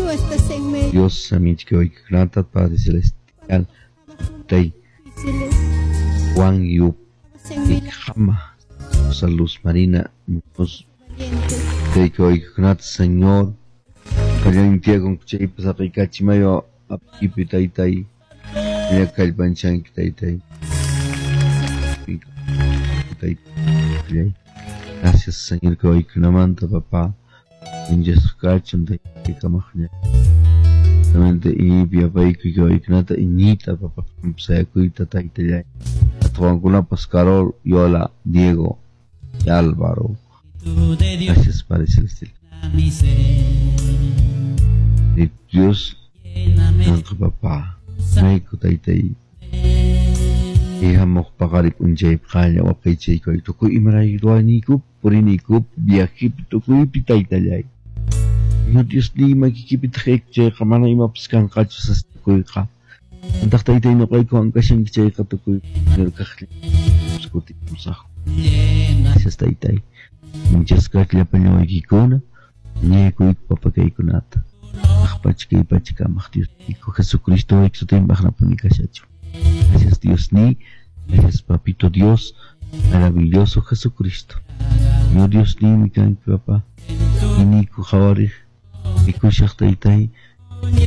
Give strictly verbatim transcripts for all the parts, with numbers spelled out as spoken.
Tú estás en medio. Dios, Amichkioykunata, Padre Celestial, Tei, Difíciles. Juan Yup, Hacen milagros Ikama, Rosa Luz Marina, Muñoz, valientes. Tei, Señor, Kallantiagon chaypas aqaykachimayo apipi taytay, kallpanchanki taytay. Taytay. Gracias, Señor, que hoy kunamanta, papá. Injasqachun taytay kamaqña. Solamente iñipi apaykuy que hoy kunata iñita, papá. Sayakuyta taytallay. Atuankunapas Carol, Yola, Diego y Álvaro. Gracias, Padre Celestial. Y Dios, Santo papá. Mayku taytay. Ihamuq paqarik p'unchaypi qalla waqaychaykuy tukuy imarayku ruwaniykupi puriniykupi viajepi tukuypi taytallay. Ña Dios niy makikipitaq chayqa mana imapas kanqachu sasakuyqa. Antaq taytay ñuqaykuwan kashanki chayqa tukuy kaqlla kutimusaqku. Gracias taytay. Muchas gracias llapallawaykikuna. Ñaykuyku papakaykunata. Aqpacha kay pachakamaq Dios niku Jesucristo sutinpaq napuni kashachu. Gracias Dios ni, gracias Papito Dios, maravilloso Jesucristo. Yo Dios ni mi kanki papá, iniku jawarij, ikushaq taytay,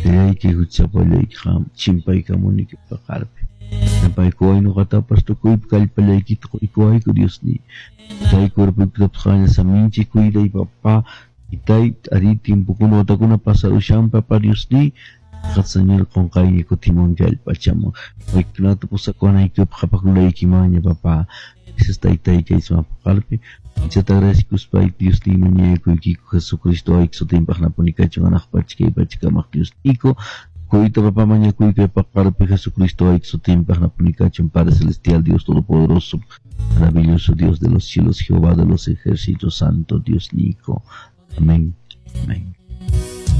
tayayki huchapallayki qam chimpaykamuniki paqarpi. Napaykuway ñuqatapas tukuypi kallpallaykita quykuwayku Dios ni. Tay cuerpoykitapas qalla saminchi cuiday papá, itay ari tiempokuna watakuna pasarushan papá Dios ni. Señor qunqayña kutimunki allpachaman. Waykunata pusakuwanaykipaq qhapaqkulaykimanña papá. Gracias taytay kay sumaq paqarpi. Anchata agradecikuspay Dios ni mañakuykiku Jesucristo ayki sutinpaq napuni kachun hanaq pacha kay pachakamaq Dios niku. Kuyta papá mañakuyki paqarpi Jesucristo ayki sutinpaq napuni kachun Padre Celestial Dios Todopoderoso, maravilloso Dios de los cielos, Jehová de los ejércitos, Santo Dios Nico. Amén. Amén.